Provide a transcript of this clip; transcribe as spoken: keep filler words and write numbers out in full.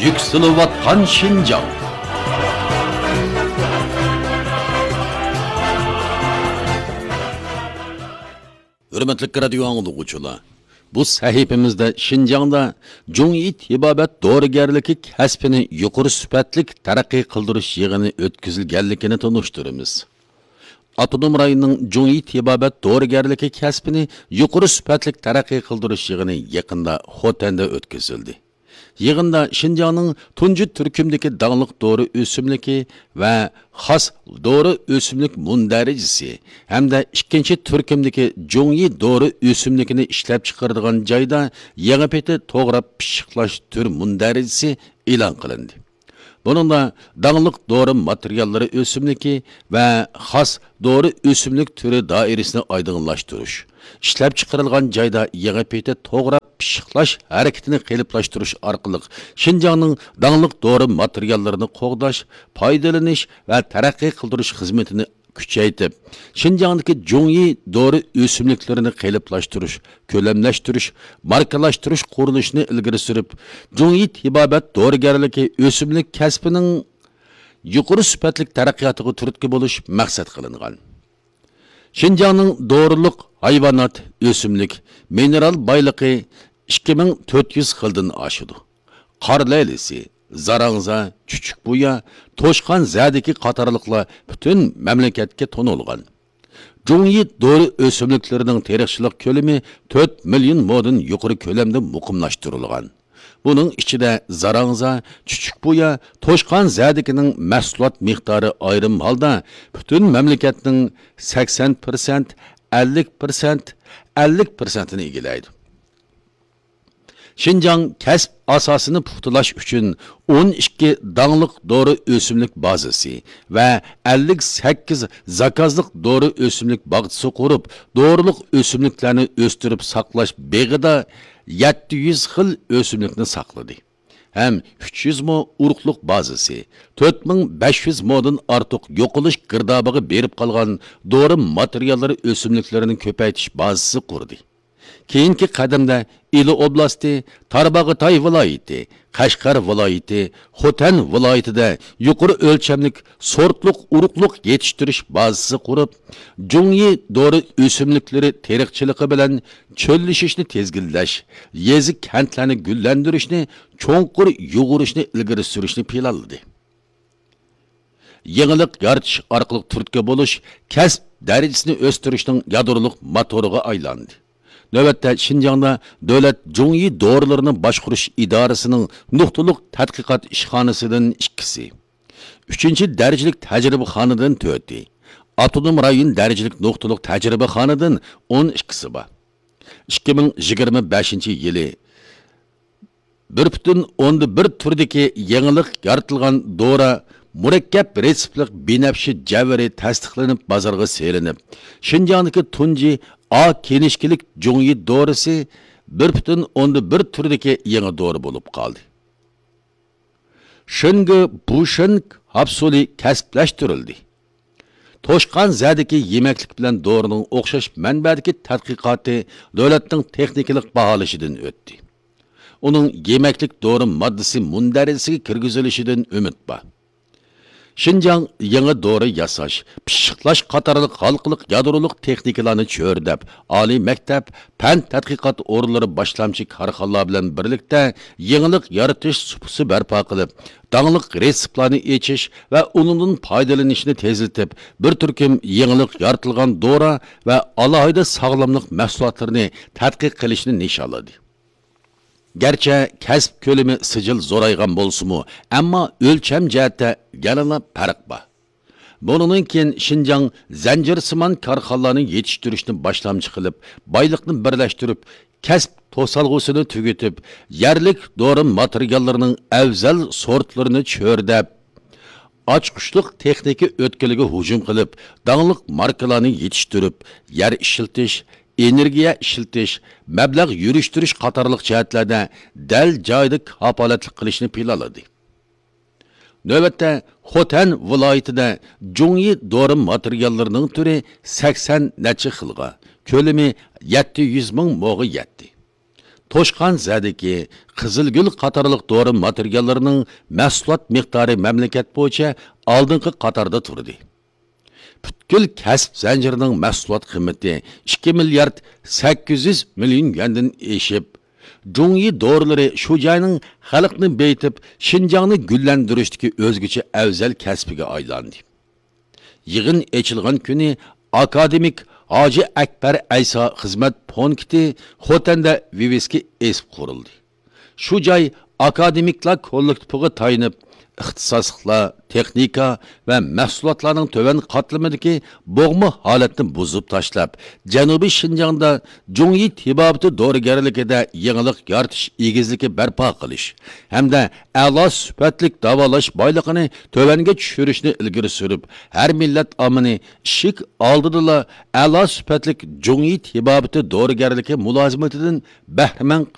يۈكسىلىۋاتقان شىنجاڭ. ھۆرمەتلىك رادىيو ئاڭلىغۇچىلار، بۇ سەھىپىمىزدە شىنجاڭدا جۇڭيى تېبابەت دورىگەرلىكى كەسپىنى يۇقىرى سۈپەتلىك تەرەققىي قىلدۇرۇش يىغىنى ئۆتكۈزۈلگەنلىكىنى تونۇشتۇرىمىز. ئاپتونوم رايوننىڭ جۇڭيى تېبابەت دورىگەرلىكى كەسپىنى يۇقىرى سۈپەتلىك تەرەققىي قىلدۇرۇش يىغىنى يېقىندا خوتەندە ئۆتكۈزۈلدى. يىغىندا شىنجاڭنىڭ تۇنجى تۈركۈمدىكى داڭلىق دورا ئۆسۈملۈكى ۋە خاس دورا ئۆسۈملۈك مۇندەرىجىسى ھەمدە ئىككىنچى تۈركۈمدىكى جۇڭيى دورا ئۆسۈملۈكىنى ئىشلەپچىقىرىدىغان جايدا يېڭى پېتى توغراپ پىششىقلاش تۈر مۇندەرىجىسى ئېلان قىلىندى. بۇنىڭدا داڭلىق دورا ماتېرىياللىرى ئۆسۈملۈكى ۋە خاس دورا ئۆسۈملۈك تۈرى دائىرىسىنى ئايدىڭلاشتۇرۇش، ئىشلەپچىقىرىلغان جايدا يېڭى پېتى توغراپ پىششىقلاش ھەرىكىتىنى قېلىپلاشتۇرۇش ئارقىلىق شىنجاڭنىڭ داڭلىق دورا ماتېرىياللىرىنى قوغداش، پايدىلىنىش ۋە تەرەققىي قىلدۇرۇش خىزمىتىنى كۈچەيتىپ، شىنجاڭدىكى جۇڭيى دورا ئۆسۈملۈكلىرىنى قېلىپلاشتۇرۇش، كۆلەملەشتۈرۈش، ماركىلاشتۇرۇش قۇرۇلۇشىنى ئىلگىرى سۈرۈپ، جۇڭيى تېبابەت دورىگەرلىكى ئۆسۈملۈك كەسپىنىڭ يۇقىرى سۈپەتلىك تەرەققىياتىغا تۈرتكە بولۇش مەقسەت قىلىنغان. شىنجاڭنىڭ دورىلىق ھايۋانات، ئۆسۈملۈك، مىنېرال بايلىقى ئىككى مىڭ تۆت يۈز خىلدىن ئاشىدۇ. قار لەيلىسى، زاراڭزا، چۈچۈكبۇيا، توشقان زەدىكى قاتارلىقلار پۈتۈن مەملىكەتكە تونۇلغان. جۇڭيى دورا ئۆسۈملۈكلىرىنىڭ تېرىقچىلىق كۆلىمى تۆت مىليون مودىن يۇقىرى كۆلەمدە مۇقىملاشتۇرۇلغان. بۇنىڭ ئىچىدە زاراڭزا، چۈچۈكبۇيا، توشقان زەدىكىنىڭ مەھسۇلات مىقدارى ئايرىم ھالدا پۈتۈن مەملىكەتنىڭ سەكسەن پىرسەنت، ئەللىك پىرسەنت، ئەللىك پىرسەنتىنى ئىگىلەيدۇ. شىنجاڭ كەسىپ ئاساسىنى پۇختىلاش ئۈچۈن ئون ئىككى داڭلىق دورا ئۆسۈملۈك بازىسى ۋە ئەللىك سەككىز زاكازلىق دورا ئۆسۈملۈك باغچىسى قۇرۇپ، دورىلىق ئۆسۈملۈكلەرنى ئۆستۈرۈپ ساقلاش بېغىدا يەتتە يۈز خىل ئۆسۈملۈكنى ساقلىدى ھەم ئۈچ يۈز مو ئۇرۇقلۇق بازىسى، تۆت مىڭ بەش يۈز مودىن ئارتۇق يوقىلىش گىردابىغا بېرىپ قالغان دورا ماتېرىياللىرى ئۆسۈملۈكلىرىنى كۆپەيتىش بازىسى قۇردى. كېيىنكى قەدەمدە ئىلى ئوبلاستى، تارباغاتاي ۋىلايىتى، قەشقەر ۋىلايىتى، خوتەن ۋىلايىتىدە يۇقىرى ئۆلچەملىك سورتلۇق ئۇرۇقلۇق يېتىشتۈرۈش بازىسى قۇرۇپ، جۇڭيى دورا ئۆسۈملۈكلىرى تېرىقچىلىقى بىلەن چۆللىشىشنى تىزگىنلەش، يېزا، كەنتلەرنى گۈللەندۈرۈشنى، چوڭقۇر يۇغۇرۇشنى ئىلگىرى سۈرۈشنى پىلانلىدى. يېڭىلىق يارىتىش ئارقىلىق تۈرتكە بولۇش كەسىپ دەرىجىسىنى ئۆستۈرۈشنىڭ يادرولۇق موتورىغا ئايلاندى. نۆۋەتتە شىنجاڭدا دۆلەت جۇڭيى دورىلىرىنى باشقۇرۇش ئىدارىسىنىڭ نۇقتىلىق تەتقىقات ئىشخانىسىدىن ئىككىسى، ئۈچىنچى دەرىجىلىك تەجرىبىخانىدىن تۆتى، ئاپتونوم رايون دەرىجىلىك نۇقتىلىق تەجرىبىخانىدىن ئون ئىككىسى بار. ئىككى مىڭ يىگىرمە بەشىنچى يىلى بىر پۈتۈن ئوندىن بىر تۈردىكى يېڭىلىق يارىتىلغان دورا مۇرەككەپ رېتسېپلىق بىنەپشە جەۋھىرى تەستىقلىنىپ بازارغا سېلىنىپ، شىنجاڭدىكى تۇنجى ئا كىنىشكىلىك جۇڭيى دورىسى بىر پۈتۈن ئوندىن بىر تۈردىكى يېڭى دورا بولۇپ قالدى. شېنگې بۇشېن ھاپسۇلى كەسىپلەشتۈرۈلدى. توشقان زەدىكى يېمەكلىك بىلەن دورىنىڭ ئوخشاش مەنبەدىكى تەتقىقاتى دۆلەتنىڭ تېخنىكىلىق باھالىشىدىن ئۆتتى. ئۇنىڭ يېمەكلىك دورا ماددىسى مۇندەرىجىسىگە كىرگۈزۈلۈشىدىن ئۈمىد بار. شىنجاڭ يېڭى دورا ياساش، پىششىقلاش قاتارلىق ھالقىلىق يادرولۇق تېخنىكىلارنى چۆرىدەپ، ئالىي مەكتەپ، پەن تەتقىقات ئورۇنلىرى باشلامچى كارخانىلار بىلەن بىرلىكتە يېڭىلىق يارىتىش سۇپىسى بەرپا قىلىپ، داڭلىق رېتسېپلارنى ئېچىش ۋە ئۇنىڭدىن پايدىلىنىشنى تېزلىتىپ، بىر تۈركۈم يېڭىلىق يارىتىلغان دورا ۋە ئالاھىدە ساغلاملىق مەھسۇلاتلىرىنى تەتقىق قىلىشنى نىشانلىدى. گەرچە كەسىپ كۆلىمى سىجىل زورايغان بولسىمۇ، ئەمما ئۆلچەم جەھەتتە يەنىلا پەرق بار. بۇنىڭدىن كېيىن شىنجاڭ زەنجىرسىمان كارخانىلارنى يېتىشتۈرۈشنى باشلامچى قىلىپ، بايلىقنى بىرلەشتۈرۈپ، كەسىپ توسالغۇسىنى تۈگىتىپ، يەرلىك دورا ماتېرىياللىرىنىڭ ئەۋزەل سورتلىرىنى چۆرىدەپ، ئاچقۇچلۇق تېخنىكا ئۆتكىلىگە ھۇجۇم قىلىپ، داڭلىق ماركىلارنى يېتىشتۈرۈپ، يەر ئىشلىتىش، ئېنېرگىيە ئىشلىتىش، مەبلەغ يۈرۈشتۈرۈش قاتارلىق جەھەتلەردە دەل جايىدا كاپالەتلىك قىلىشنى پىلانلىدى. نۆۋەتتە خوتەن ۋىلايىتىدە جۇڭيى دورا ماتېرىياللىرىنىڭ تۈرى سەكسەن نەچچە خىلغا، كۆلىمى يەتتە يۈز مىڭ موغا يەتتى. پوشقان زەدىكى، قىزىلگۈل قاتارلىق دورا ماتېرىياللىرىنىڭ مەھسۇلات مىقدارى مەملىكەت بويىچە ئالدىنقى قاتاردا تۇردى. پۈتكۈل كەسىپ زەنجىرىنىڭ مەھسۇلات قىممىتى ئىككى مىليارد سەككىز يۈز مىليون يۈەندىن ئېشىپ، جۇڭيى دورىلىرى شۇ جاينىڭ خەلقنى بېيىتىپ، شىنجاڭنى گۈللەندۈرۈشتىكى ئۆزگىچە ئەۋزەل كەسپىگە ئايلاندى. يىغىن ئېچىلغان كۈنى ئاكادېمىك ھاجى ئەكبەر ئەيسا خىزمەت پونكىتى خوتەندە ۋىۋىسكى ئېسىپ قۇرۇلدى. شۇ جاي ئاكادېمىكلار كوللېكتىپىغا تايىنىپ، ئىختىساسلىقلار، تېخنىكا ۋە مەھسۇلاتلارنىڭ تۆۋەن قاتلىمىدىكى بوغما ھالەتنى بۇزۇپ تاشلاپ، جەنۇبىي شىنجاڭدا جۇڭيى تېبابىتى دورىگەرلىكىدە يېڭىلىق يارىتىش ئېگىزلىكى بەرپا قىلىش ھەمدە ئەلا سۈپەتلىك داۋالاش بايلىقىنى تۆۋەنگە چۈشۈرۈشنى ئىلگىرى سۈرۈپ، ھەر مىللەت ئاممىنى ئىشىك ئالدىدىلا ئەلا سۈپەتلىك جۇڭيى تېبابىتى دورىگەرلىكى مۇلازىمىتىدىن بەھرىمەن